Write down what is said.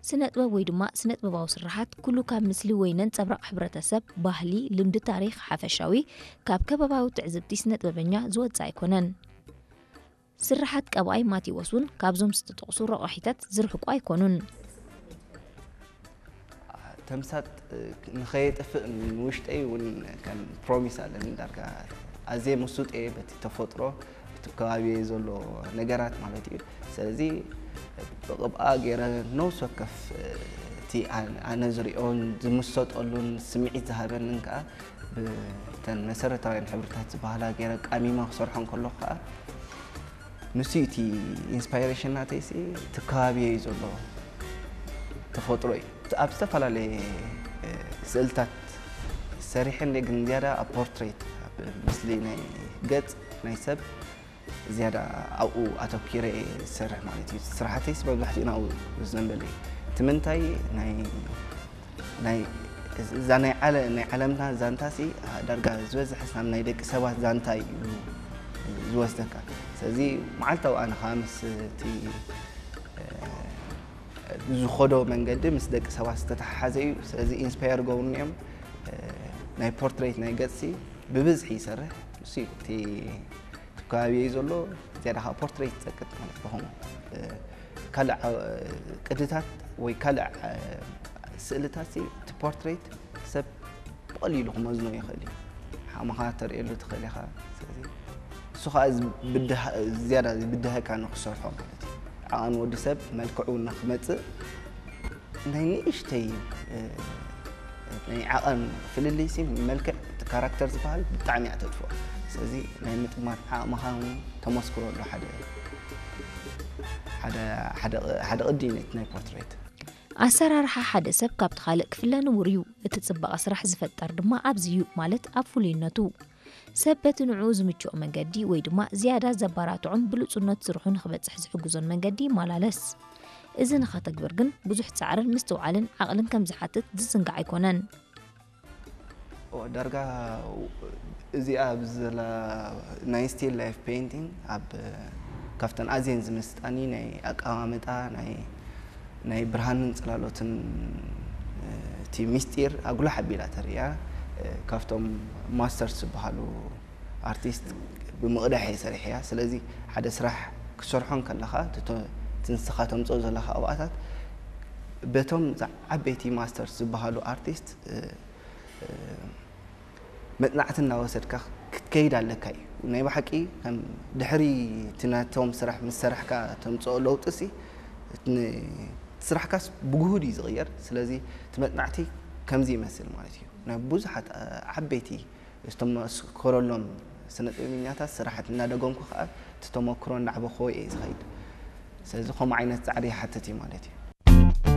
ስነ ጥበብ ወይ ድማ ስነ ጥበባዊ ስርሓት ኩሉ ካብ ምስሊ ወይ ነንጸብራቕ ሕብረተሰብ፣ ባህሊ፣ ልምዲ፣ ታሪኽ፣ ሓፈሻዊ ካብ ከባባዊ ትዕዝብቲ ስነ ጥበበኛ ዝወጽእ ኣይኮነን። ስርሓት ቀባኣይ ማቴዎስ እውን ካብዞም ዝተጠቕሱ ረቋሒታት ዝርሕቁ ኣይኮኑን። ተምሳጥ ንኸየጥፍእ ንውሽጠይ እውን ከም ፕሮሚስ ኣለኒ። ዳርጋ ኣዝየ ምስጡጥ እየ በቲ ተፈጥሮ፣ እቲ ከባቢ ዘሎ ነገራት ማለት እዩ። ስለዚ ብቕብኣ ገይረ ነውስ ወከፍ እቲ ኣነ ዝሪኦን ዝምሰጠሉን ስምዒት ዝሃበንን ከዓ ብተን መሰረታውያን ሕብርታት ዝበሃላ ገይረ ቃሚመ ክሰርሖ እንከለኹ ከዓ ንሱ እቲ ኢንስፓይሬሽን ናተይሲ እቲ ከባቢ እዩ ዘሎ ተፈጥሮ እዩ። ኣብ ዝተፈላለየ ስእልታት ሰሪሐ እንደ ግን ዝያዳ ኣብ ፖርትሬት ኣብ ምስሊ ናይ ገጽ ናይ ሰብ ዝያዳ ኣብኡ ኣተኪረ እየ ዝሰርሕ ማለት እዩ። ስራሕተይስ መብዛሕትኡ ናብኡ ዝዘንበለ እዩ። እቲ ምንታይ ናይ ናይ እዛ ናይ ዓለ ናይ ዓለምና ዛንታ ሲ ዳርጋ ዝበዝሐ ሳም ናይ ደቂ ሰባት ዛንታ እዩ ዝወስደካ። ስለዚ መዓልታዊ ኣነ ከዓ ምስ እቲ ዝኸዶ መንገዲ ምስ ደቂ ሰባት ዝተተሓሓዘ እዩ። ስለዚ ኢንስፓየር ገብሩኒ እዮም። ናይ ፖርትሬት ናይ ገጽ ሲ ብብዝሒ ይሰርሕ። እሱ እዩ እቲ እቲ ከባቢ እዩ ዘሎ። ዝያዳ ከዓ ፖርትሬት ይጸቅጥ ማለት ብኸምኡ ካልእ ቅድታት ወይ ካልእ ስእልታት ሲ እቲ ፖርትሬት ሰብ ብቐሊሉ ክመዝኖ ይኽእል እዩ። ሓመኻ ተርእየሉ ትኽእል ኢኻ። ስለዚ እሱ ከዓ ዝያዳ ዝብድሀካ ንክሰርሖ ማለት እዩ። ዓቐን ወዲ ሰብ መልክዑ ንክመፅእ ናይ ንእሽተይ ናይ ዓቐን ፍልልይ ሲ መልክዕ እቲ ካራክተር ዝበሃል ብጣዕሚ እያ ተጥፍኦ። ስለዚ ናይ ምጥማት ዓቕምኻ እውን ተመስክሮ ኣሎ ሓደ ሓደ ሓደ ቅዲ እዩ ነቲ ናይ ፖርትሬት። ኣሰራርሓ ሓደ ሰብ ካብቲ ካልእ ክፍለ ንቡር እዩ። እቲ ጽባቐ ስራሕ ዝፈጠር ድማ ኣብዚ እዩ፣ ማለት ኣብ ፍሉይነቱ። ሰብ በቲ ንዕኡ ዝምችኦ መንገዲ ወይ ድማ ዝያዳ ዘባራትዖን ብሉጹነት ስርሑ ንኽበጽሕ ዝሕግዞን መንገዲ ይመላለስ። እዚ ንኸተግብር ግን ብዙሕ ጻዕርን ምስትውዓልን ዓቕልን ከም ዝሓትት ዝዝንጋዕ ኣይኮነን። ዳርጋ እዚኣ ኣብዚ ዘላ ናይ ስቲል ላይፍ ፔይንቲንግ ኣብ ካብተን ኣዝየን ዝምስጣኒ ናይ ኣቀማምጣ ናይ ናይ ብርሃንን ጽላሎትን እቲ ሚስጢር ኣጉላሕ ኣቢላ ተርእያ። ካብቶም ማስተርስ ዝበሃሉ ኣርቲስት ብምቕዳሕ እየ ሰሪሐያ። ስለዚ ሓደ ስራሕ ክትሰርሖ እንከለኻ እቲ ንስኻ ተምፅኦ ዘለኻ ኣብኣታት በቶም ዓበይቲ ማስተርስ ዝበሃሉ ኣርቲስት መፅናዕቲ እናወሰድካ ክትከይድ ኣለካ እዩ። ናይ ብሓቂ ከም ድሕሪ እቲ ናቶም ስራሕ ምስ ሰራሕካ ተምፅኦ ለውጢ ሲ ስራሕካስ ብጉሁድ እዩ ዝቕየር። ስለዚ እቲ መፅናዕቲ ከምዚ ይመስል ማለት እዩ። ናይ ብዙሓት ዓበይቲ ዝተመስከረሎም ስነ ጥበበኛታት ስራሓት እናደገምኩ ከዓ እቲ ተመክሮ እናዕበኽዎ እየ ዝኸይድ። ስለዚ ከምኡ ዓይነት ፃዕሪ ይሓትት እዩ ማለት እዩ።